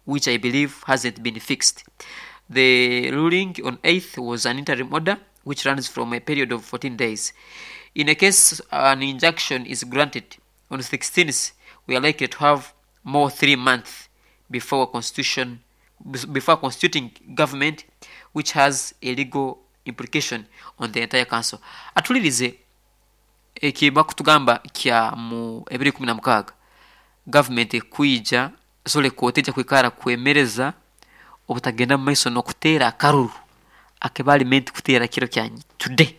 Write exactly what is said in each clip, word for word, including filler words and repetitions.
which I believe hasn't been fixed. The ruling on eighth was an interim order which runs from a period of fourteen days. In a case an injunction is granted on sixteenth, we are likely to have more three months before constitution before constituting government, which has a legal implication on the entire council. Atulirize eki bakutugamba kya mu ebiri kumi na mukaaga government ekwija sole kooti ejja kwikara kwemereza obutagenda mu maiso n'okuteera akaruru akebali meant kuteera kiro kya today.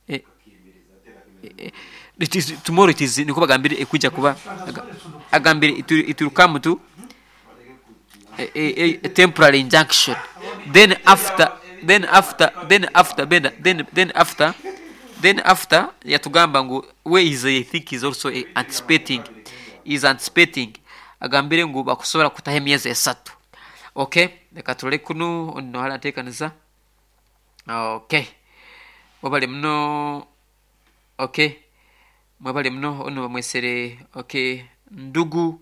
Eh, eh, it is, tomorrow it is niko bagambire ekwija kuba agambire it will, it will come to a, a, a temporary injunction, then after then after then after then then then after then after yatugamba ngu we is, I think, is also a anticipating is anticipating agambire ngu bakusobola kutaho emyezi esatu. Okay, leka tulole kunu ono hala nteekaniza. Okay, wabale muno. Okay, mwebale muno ono bamwesere. Okay, ndugu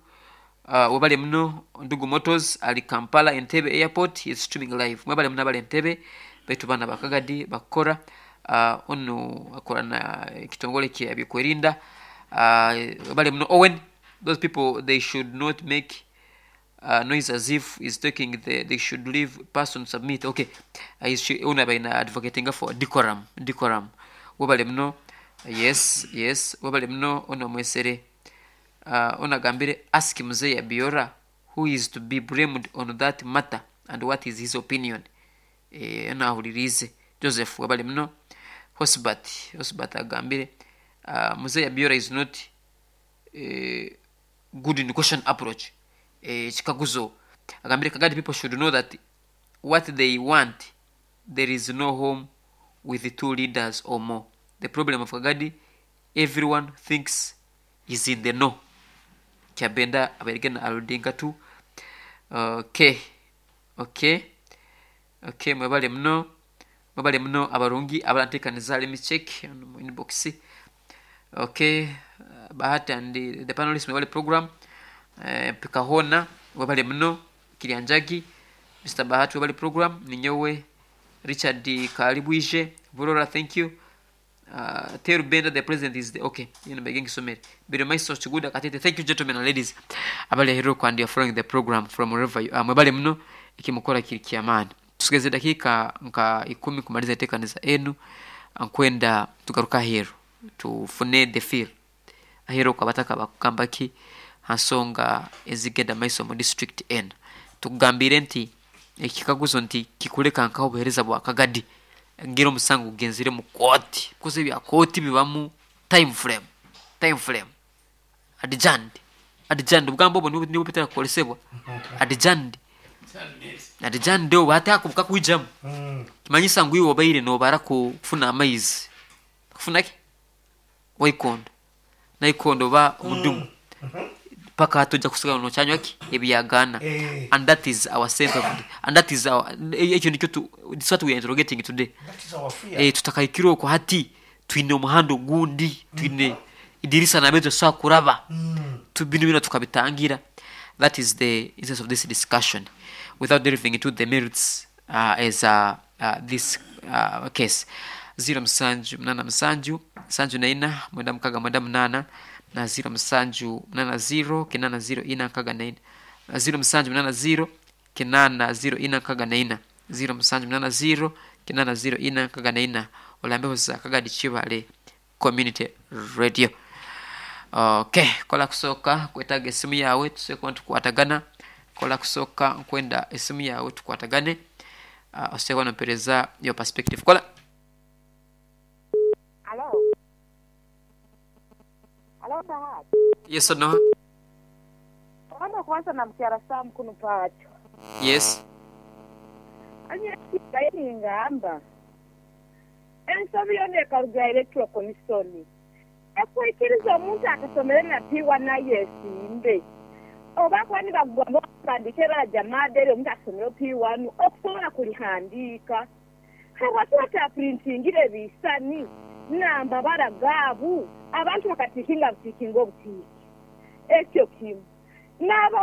uh, webale muno Ndugu Motors ali Kampala Entebbe Airport is streaming live. Mwebale muno abali Entebbe baitu bana bakagadi bakora uh, ono akora na ekitongole kya byokwerinda. uh, webale muno Owen. Those people, they should not make uh, noise as if is taking the, they should leave person submit. Okay, uh, ono abaina advocating for decorum decorum Webale muno. yes yes webale muno ono mwesere. uh, ono agambire, ask Mzee Abiora who is to be blamed on that matter and what is his opinion. eh, ono ahulirize Joseph. Webale muno Hosbat. Hosbat agambire, uh, Mzee Abiora is not uh, good in question approach. eh, kikaguzo agambire, Kagadi people should know that what they want, there is no home with the two leaders or more. The problem of Kagadi, everyone thinks is in the know. Kyabenda abairigena aludinga tu. okay okay okay mwebale muno, mwebale muno abarungi abalantekaniza. Let me check mu inbox. Okay, uh, Bahati and the, the panelists, mwebale program. uh, pikahona webale muno Kirianjagi. Mister Bahati, webale program. Ninyowe Richard Kalibwije Burora, thank you. uh, Teru Benda, the president is the, okay, you know beginning somere biro maiso chiguda katete. Thank you, gentlemen and ladies abali hero and you are following the program from wherever you are. Mwebale muno ikimukora kiri kiamani. Tusigeze dakika nka ikumi kumaliza itekaniza enu. Nkwenda tugaruka hero tufune the feel ahero kwa bakugamba ki hansonga ezigenda maiso mu district enu. Tukugambire nti ekikaguzo nti kikuleka nkaho obuhereza bwa Kagadi ngira omusango gugenzire mu kooti kuze ebya kooti bibamu time frame time frame adjourned, adjourned. Obugambo obwo nibwo nibwo bitera kukolesebwa, adjourned, adjourned. Obwo hati ako bukakwijamu kimanyisa ngu iwe obaire nobara kufuna amaizi kufuna ki waikondo naikondo ba omudumu paka hati ojja kusigala nokyanywa ki ebyagaana. Eh. And that is our sense of, and that is our, ekyo nikyo tu, this is what we are interrogating today. That is our fear. eh, tutakaikire okwo hati twine omuhanda ogundi, twine idirisa nabyo tusobola kuraba tu bino bino tukabitangira. That is the essence of this discussion without delving into the merits uh, as uh, uh, this uh, case. Ziro musanju munana musanju nsanju naina mwenda mukaga mwenda munana na ziro musanju munana ziro kinana ziro ina nkaga naina, ziro musanju munana ziro kinana ziro ina nkaga naina, ziro musanju munana ziro kinana ziro ina nkaga naina. Olambeho za Kagadi Kibale Community Radio. Okay, kola kusooka kwetaaga esimu yawe tusobola tukwatagana. Kola kusooka nkwenda esimu yawe tukwatagane. uh, osobola nompereza your perspective. Kola. Alo. Alo, Bahati. Yes or no? Ono kwanza na mkyara Sam kuno pacho. Yes. Anya ngamba. Ensobi yona ekaruga Electoral Commission. Ekwikiriza omuntu akasomere na P one naye esimbe. Oba kwani bagamba bandike bajamadere omuntu asomere P one okusobola kulihandiika. Habwaki bataprintingire ebisani namba gaabu abantu bakatiikinga butiikinga obutiiki ekyo kimu n'aba